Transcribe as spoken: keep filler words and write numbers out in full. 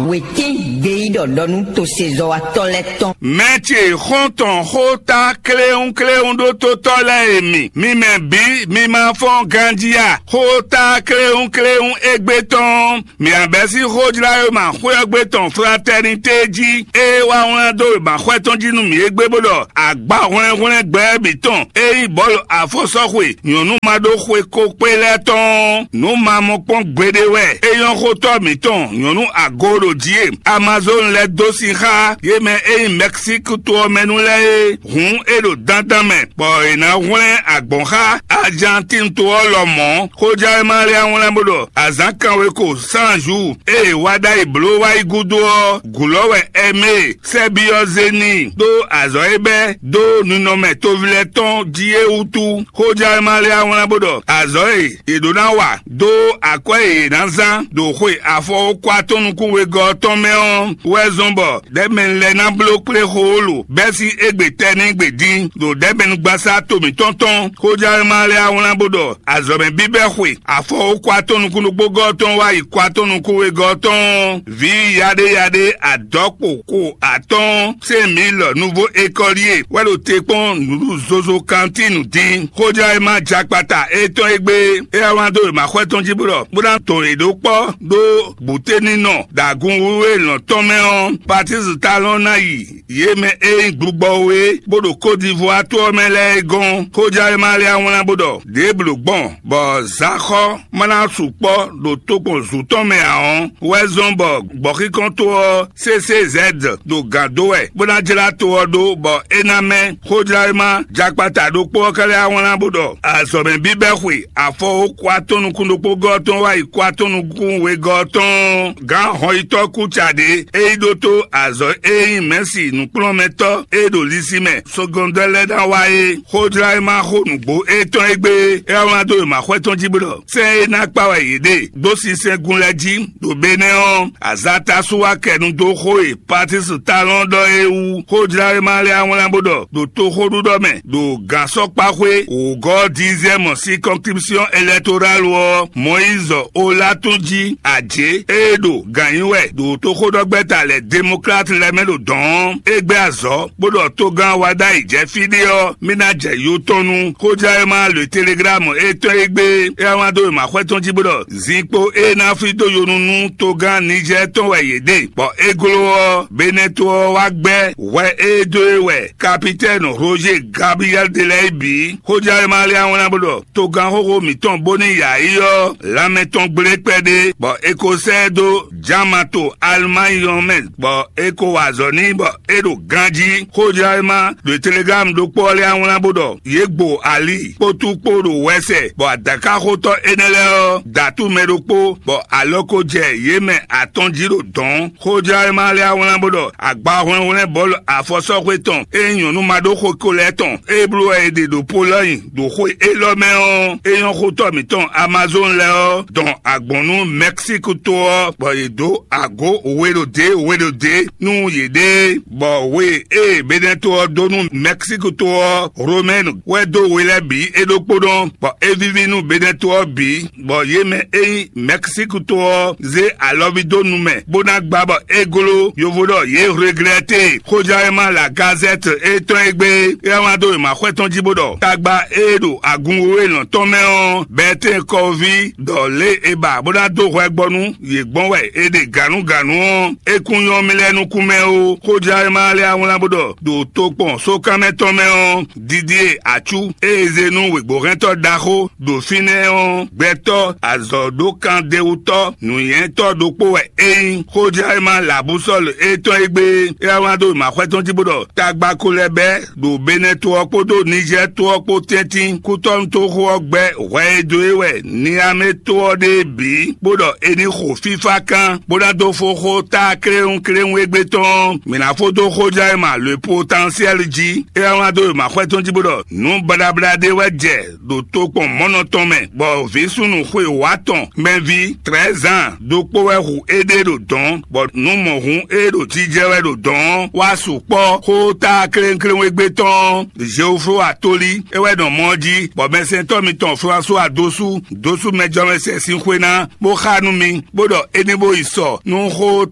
Wětín gbeyíɖɔ ɖɔ nú tosezɔ́watɔ́ lɛ́ɛ tɔn. Mɛ ce xɔ́ntɔn xó ta kléwúnkléwún ɖó tótɔ́ lɛ́ɛ e mi, mi mɛ bǐ mi ma fɔ́n ganjí a? Xó ta kléwúnkléwún égbé tɔn, mǐ abɛ́ sín xójláyoma xwé ɔ́ gbe tɔn Fratɛnité jí, ée wá wlán dó wěmaxwɛ tɔn jí nú mǐ égbé bó ɖɔ agbahwlɛ́nhwlɛ́n gbɛ bǐ tɔn e nyí bɔ̌lu afɔsɔ́xwe nyɔ̌nu ma ɖó xwe ko kpé lɛ́ɛ tɔn nǔ ma mɔ kpɔ́n gbeɖé wɛ. É nyɔ́ xótɔ́ mǐtɔn nyɔ̌nu ago ɖo jí e Amazon lɛ́ dó sin xá yě mɛ e nyí Mɛksík to ɔ́ mɛ nu lɛ́ɛ é. Hǔn é ɖo dandan mɛ, bɔ è nǎ hwlɛ́n agbɔ̌n xá Ajantín to ɔ́ lɔmɔ̌. Xójɛ́wéma lɛ́ɛ wlán bó ɖɔ azǎn kanweko Sanzu e è wá ɖ'ayǐ bló wá yi gúdo ɔ́, gǔlɔ́ wɛ Ɛmée sɛ́ byɔ́ zé n'i ɖó azɔ̌ e bɛ́ dó ninɔmɛ toví lɛ́ɛ tɔn jí é wútu. Xójɛ́wéma lɛ́ɛ wlán bó ɖɔ azɔ̌ e è ɖǒ ná wa dó akwɛ́ e è nǎ zán ɖo xwe afɔwókwa tɔn nukún wegɔ́ ɔ́ tɔn mɛ ɔ́ wɛ zɔ́n bɔ ɖɛ̌mɛnu lɛ́ɛ ná bló kplé xóxólo bɛ́ sín égbé tɛ́ nɛ́ gbe dín ɖo ɖɛ̌mɛnugbasá to mǐtɔn tɔn. Xójɛ́wéma lɛ́ɛ wá wlán bó ɖɔ azɔ̌mɛ bíbɛ́ xwe afɔwókwa tɔn nukún ɖokpógɔ́ tɔn wá yi kwa tɔn nukún wegɔ́ tɔn vǐ yaɖéyaɖé adɔ̌kpo ko atɔ́ɔ́n Sɛ́n mǐ lɔ nuvo ékɔ́líe wɛ ɖo te kpɔ́n nǔɖuɖu zozo kantínu dín. Xójlá e ma jakpata étɔn e gbé é wá wlán dó wěmaxwɛ tɔn jí bó ɖɔ bó ná tɔn yě ɖó kpɔ́ ɖó bǔténinɔ ɖo agun wíwú e lɔ̌n tɔn mɛ ɔ́, Patísi Talɔn ná yi yě mɛ e nyí gbugbɔ we bó ɖo Kódivwá to ɔ́ mɛ lɛ́ɛ é gɔ́n. Xójlá e ma lɛ́ wá wlán bó ɖɔ ɖěbǔ gbɔn bɔ zǎnxɔ ma ná sukpɔ́ ɖo tokpɔn zǔ tɔn mɛ ǎ ɔ́, wɛ zɔ́n bɔ gbɔ̌xíkɔ́ntɔ́ ɔ́ C C Z ɖo gǎn dó wɛ, bó ná jlá to ɔ́ ɖó, bɔ é ná mɛ. Xójláwéma jakpata ɖokpó ɔ́ ka lɛ́ wá wlán bó ɖɔ azɔ̌mɛ bíbɛ́ xwe afɔwókwa tɔn nukún ɖokpógɔ́ tɔn wá yi kwa tɔn nukún wegɔ́ tɔn gǎn hɔnyitɔ́ kúca ɖě e yi ɖótó azɔ̌ e nyí mɛ̌si nǔkplɔ́nmɛtɔ́ e ɖo lisi mɛ sɔgɔndɔ́ lɛ́ɛ ná wá é. Xójláwéma xó nǔgbó étɔn e gbé é wá wlán dó wěmaxwɛ tɔn jí bó ɖɔ sɛ́n e ná kpa wɛ yě ɖe dó sinsɛngun lɛ́ɛ jí ɖo Benɛ́ ɔ́, azǎn tásu wá kɛ nu dó xó e Patísi Talɔn ɖɔ é wú. Xójláwéma lɛ́ɛ wá wlán bó ɖɔ ɖo toxóɖuɖɔ mɛ ɖo gǎnsɔkpaxwé wǒgɔ́ diziɛmɔ circonscription électorale ɔ́, Mɔyízɔ Olatún jí ajě e ɖo gǎn nyi wɛ ɖo toxóɖɔgbɛ́ta lɛ́ɛ Demokrat lɛ́ɛ mɛ ɖo dɔ̌n ɔ́, é gbɛ́ azɔ̌ bó ɖɔ togán wa ɖ'ayǐ jɛ fí ɖé ɔ́, mì ná jɛ yo tɔn nu. Xójlá e ma le Telegram étɔn e gbé é wá wlán dó wěmaxwɛ tɔn jí bó ɖɔ zinkpo e ná fí dó yonu nú togán Nijɛ́ɛ tɔn wɛ yě ɖe, bɔ é gló ɔ́, Benɛ́to ɔ́ wá gbɛ́ hwɛ e dó e wɛ kapitɛ́ni Roger Gabriel de lɛ́ɛ bǐ. Xójlá e ma lɛ́ wá wlán bó ɖɔ togán xóxó mǐtɔn bó ní yǎ yi ɔ́, lanmɛ tɔn gblé kpɛɖé, bɔ è ko sɛ́ ɛ dó Jamato Alemayi ɔ́ mɛ, bɔ è ko wa azɔ̌ n'i bɔ é ɖo ganjí. Xójláwéma ɖo Telegram ɖokpó ɔ́ lɛ́ɛ wá wlán bó ɖɔ yě gbo ali kpótú kpó ɖo wɛsɛ, bɔ adǎkaxotɔ́ énɛ́ lɛ́ɛ ɔ́ da atú mɛ ɖokpó, bɔ alɔ ko jɛ yě mɛ atɔn jí ɖo dɔ̌n. Xójláwéma lɛ́ɛ wá wlán bó ɖɔ agbahwlɛ́nhwlɛ́n bɔ̌lu afɔsɔ́xwé tɔn e nyí nyɔ̌nu ma ɖó xo ko lɛ́ɛ tɔn e bló wɛ è ɖe ɖo Polɔ́nyi ɖo xwe élɔ́ mɛ ɔ́, é nyɔ́ xotɔ́ mǐtɔn Amazon lɛ́ɛ ɔ́ dɔn agbɔ̌n nú Mɛksík to ɔ́, bɔ yě dó agǒ we ɖo dě we ɖo dě nú yěɖée, bɔ we e Benɛ́to ɔ́ dó nú Mɛksík to ɔ́, Romɛ́nu wɛ dó we lɛ́ɛ bǐ é ɖokpónɔ, bɔ é víví nú Benɛ́to ɔ́ bǐ, bɔ yě mɛ e nyí Mɛksík to ɔ́ zé alɔví dó nu mɛ, bó ná gbá bɔ é gló. Yovo ɖɔ yě hleglɛ́ te. Xójlá e ma La Gazɛ́t étɔn e gbé é wá wlán dó wěmaxwɛ tɔn jí bó ɖɔ tagba e ɖo agun wěwé lɔn tɔn mɛ ɔ́, Bɛtɛ́ɛn kɔví ɖɔ lě e ba bó ná dó hwɛ gbɔ nú yě gbɔn wɛ è ɖe gǎnugǎnu ɔ́, é kún nyɔ́ mì lɛ́ɛ nukún mɛ ó. Xójlá e ma lɛ́ wá wlán bó ɖɔ ɖo tokpɔn sókánmɛ tɔn mɛ ɔ́, Didie Acu e è zé nú wěgbóhɛntɔ́ ɖaxó ɖo fínɛ́ ɔ́, gbɛtɔ́ azɔ̌ɖókandewutɔ́ nǔnywɛ́tɔ́ ɖokpó wɛ é nyí. Xójlá e ma La Búsɔ́lu étɔn e gbé é wá wlán dó wěmaxwɛ tɔn jí bó ɖɔ tagba ko lɛ́ bɛ́ ɖo Benɛ́ to ɔ́ kpódó Nijɛ́ɛ to ɔ́ kpó tɛ́ntin kútɔ́nútoxo ɔ́ gbɛ́ hwɛ e dó é wɛ Niamé to ɔ́ ɖe é bǐ, bó ɖɔ è ní xo fífá kán, bó ná dó fó xó tá kléwúnkléwún égbé tɔn ɔ́, mǐ ná fó dó xójlá e ma Le Potentiel jí. É wá wlán dó wěmaxwɛ tɔn jí bó ɖɔ nǔ baɖabaɖa ɖé wɛ jɛ ɖo tokpɔn mɔ̌nɔ tɔn mɛ, bɔ vǐ súnnu xwe wǎ tɔn mɛví trɛ̌zan ɖokpó wɛ hu éɖée ɖo dɔ̌n, bɔ nǔ mɔ̌hun e ɖo jijɛ wɛ ɖo dɔ̌n ɔ́ wá sukpɔ́ xó tá klénklénwégbé tɔn ɔ́. Zeoflóa tóli é wɛ nɔ mɔ ɔ́ jí, bɔ mɛsɛntɔ́ mitɔn Flasuwa dó sú dó sú mɛjɔmɛsɛn sín xwé ná, bó xá nú mi, bó ɖɔ é ní bó yi sɔ nú xó